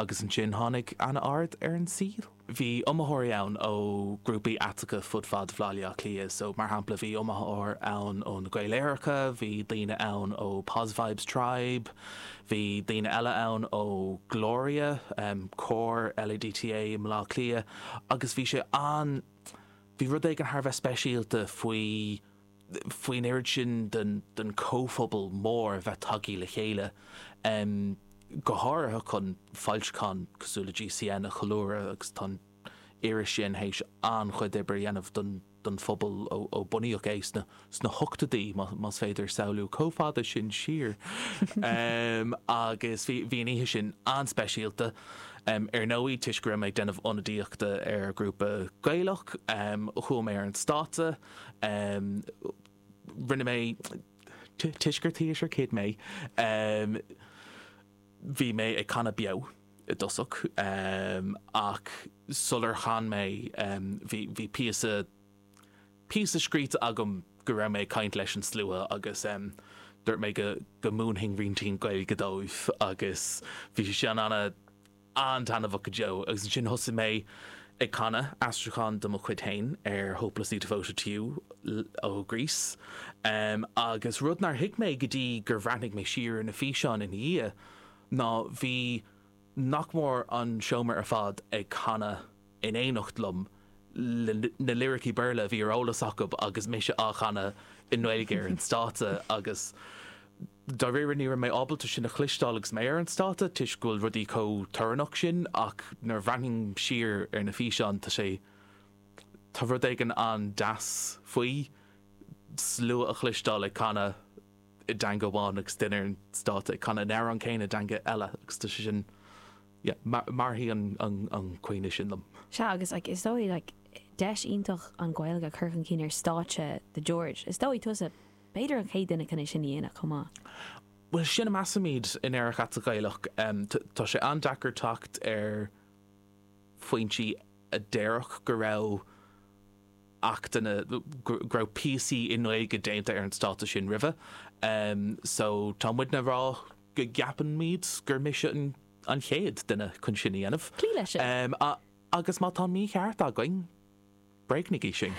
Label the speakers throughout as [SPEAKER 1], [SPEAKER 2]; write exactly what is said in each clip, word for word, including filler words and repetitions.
[SPEAKER 1] Agus ansin tháinig Anna Ard ar an saol. Bhí iomaitheoirí ann ó grúpaí aiteacha fud fad Bhaile Átha Cliath, so mar shampla bhí iomaitheoir ann ó na Gaeil Aeracha, bhí daoine ann ó Posvibes Tribe, bhí daoine eile ann ó Gloria, um, cór LADTA i mBaile Átha Cliath, agus bhí sé an bhí rud éigin thar bheith speisialta faoi faoin oiread sin den, den comhphobal mór bheith tagtha le chéile. Um, go háirithe chun foilseachán cosúil le GCN a cheiliúradh agus tá iris sin théis an-chuid oibre a dhéanamh don don phobal ó, ó bunaíodh é sna, sna hochtóidí más féidir samhlú chomh fada sin siar. um, agus bhí bhí an oíche sin an-speisialta. Um, ar ndóigh toisc go raibh mé ag déanamh ionadaíochta ar grúpa Gaelach, um, chuaigh mé ar an stáitse, um, rinne mé toisc gur theatre kid mé. Um, bhí mé ag canadh beo i dtosach um, ach sular chan mé um, bhí bhí píosa píosa scríte agam go raibh mé ag caint leis an slua agus um, dúirt mé go go múinfinn roinnt Gaeilge dóibh agus bhí sé sin an- an-taitneamhach go deo agus ansin thosaigh mé ag canadh aistriúchán de mo chuid féin ar Hopelessly Devoted to You ó Grease. Um, agus rud nár thuig mé go dtí gur bhreathnaigh mé siar na físeáin ina dhiaidh ná bhí nach mór an seomra ar fad ag canadh in éineacht liom na liricí Béarla bhí ar eolas acu agus mise á chanadh i nGaeilge ar an stáitse agus dáiríre ní raibh mé ábalta sin a chloisteáil agus mé ar an stáitse toisc go bhfuil rudaí chomh torannach sin ach nuair a bhreathnaím siar ar na físeáin tá sé tá rud éigin an-deas faoi slua a chloisteáil ag canadh i dteanga amháin agus duine ar an stáitse ag canadh an amhrán céanna i dteanga eile agus tá sé sin yeah, mairfidh an, an, an cuimhne sin liom.
[SPEAKER 2] Sea agus like, is dóigh like, deis iontach an Ghaeilge chur chun cinn ar stáitse the George. Is dóigh tusa b'fhéidir an chéad duine chun é sin a dhéanamh chomh maith.
[SPEAKER 1] Well sin a measaimid in Aerach Aiteach Gaelach um, tá sé an-deacair teacht ar foinsí a déarfadh go raibh achtanna go raibh píosaí i nGaeilge déanta ar an stáitse sin roimhe. Um, so tá muidne ag rá go gceapaimid gur mise an, an chéad duine chun sin a dhéanamh.
[SPEAKER 2] Clí leis sin.
[SPEAKER 1] Um, a, agus má tá mícheart againn, bréagnaigí sinn.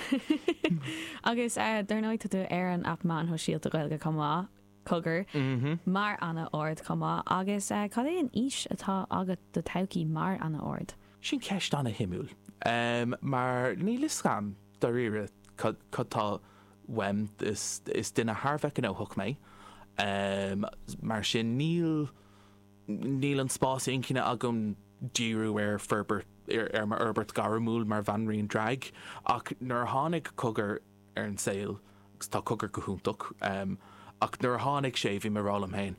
[SPEAKER 2] Agus uh, dar ndóigh tú ar an aip meáin shóisialta Gaeilge chomh maith cogar
[SPEAKER 1] Mm -hmm.
[SPEAKER 2] mar Anna Ard chomh maith agus uh, cad é an fhís atá agat do todhchaí mar Anna Ard.
[SPEAKER 1] Sin ceist an-shuimiúil. Um, mar níl a fhios agam dáiríre cad tá uaim is, is duine thar bheith gnóthach mé. Um, mar sin níl níl an spás inchinne agam díriú ar forbairt ar, ar mar fhorbairt gairmiúil mar bhanríon drag ach nuair a tháinig cogar ar an saol agus tá cogar go hiontach um, ach nuair a tháinig sé bhí mé ag rá liom féin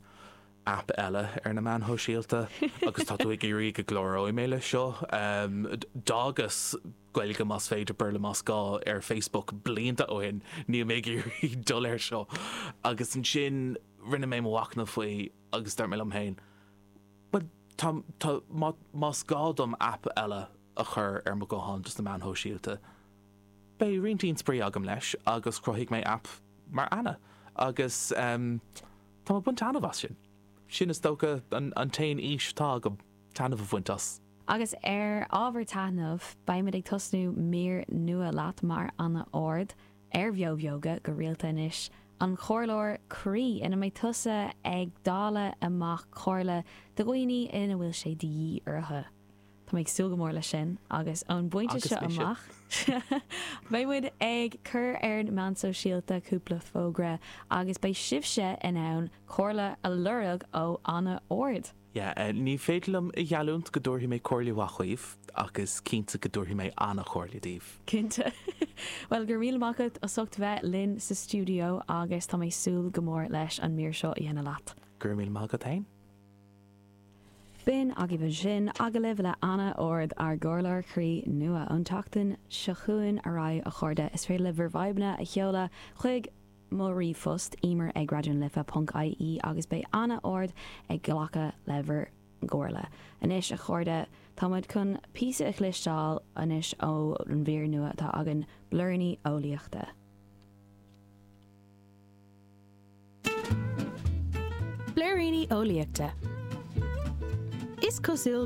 [SPEAKER 1] app eile ar na meáin shóisialta agus tá tú ag iarraidh go gcláróidh mé le seo um, d'fhágas Gaeilge más féidir Béarla más gá ar Facebook blianta ó shin níl mé ag iarraidh dul air seo agus ansin rinne mé mo mhachnamh faoi agus dúirt mé liom féin Well tá, tá, má, más gá dom app eile a chur ar mo ghuthán dos na meáin shóisialta. Beidh roinnt spraoi agam leis agus chruthaigh mé app mar Anna agus um, tá mé ag baint taitneamh as sin. Sin is dócha an, an t-aon fhís atá agam taitneamh a bhaint as.
[SPEAKER 2] Agus ar ábhar taitneamh, beimid ag tosnú mír nua leat mar Anna Ard ar Bheo Bheoga go rialta anois an Comhairleoir Croí ina mbeidh tusa ag dáileadh amach comhairle do dhaoine ina bhfuil sé de dhíth orthu. Tá mé ag súil go mór leis sin agus ón bpointe
[SPEAKER 1] Agus
[SPEAKER 2] seo
[SPEAKER 1] mise.
[SPEAKER 2] amach. Beidh muid ag cur ar na meáin shóisialta cúpla fógra agus beidh sibhse in ann comhairle a lorg ó Anna Ard.
[SPEAKER 1] Yeah, uh, ní féidir liom a gheallúint go dtabharfaidh mé comhairle mhaith daoibh agus cinnte go dtabharfaidh mé an-chomhairle daoibh.
[SPEAKER 2] Cinnte. Well gur míle maith agat as ucht bheith linn sa stiúideo agus tá mé ag súil go mór leis an mír seo a dhéanamh leat.
[SPEAKER 1] Gur míle maith agat féin?
[SPEAKER 2] B'in agaibh sin agallamh le Anna Ard ár gcomhairleoir croí nua ón tseachtain seo chugainn ar aghaidh a chairde is féidir libh bhur bhfadhbanna a sheoladh chuig mo ríomhphost emer ag radionalife.ie agus beidh Anna Ard ag glacadh le bhur gcomhairle. Anois a chairde táimid chun píosa a chloisteáil anois ó an mhír nua atá againn Blúiríní Eolaíochta.
[SPEAKER 3] Blúiríní Eolaíochta. Is cosúil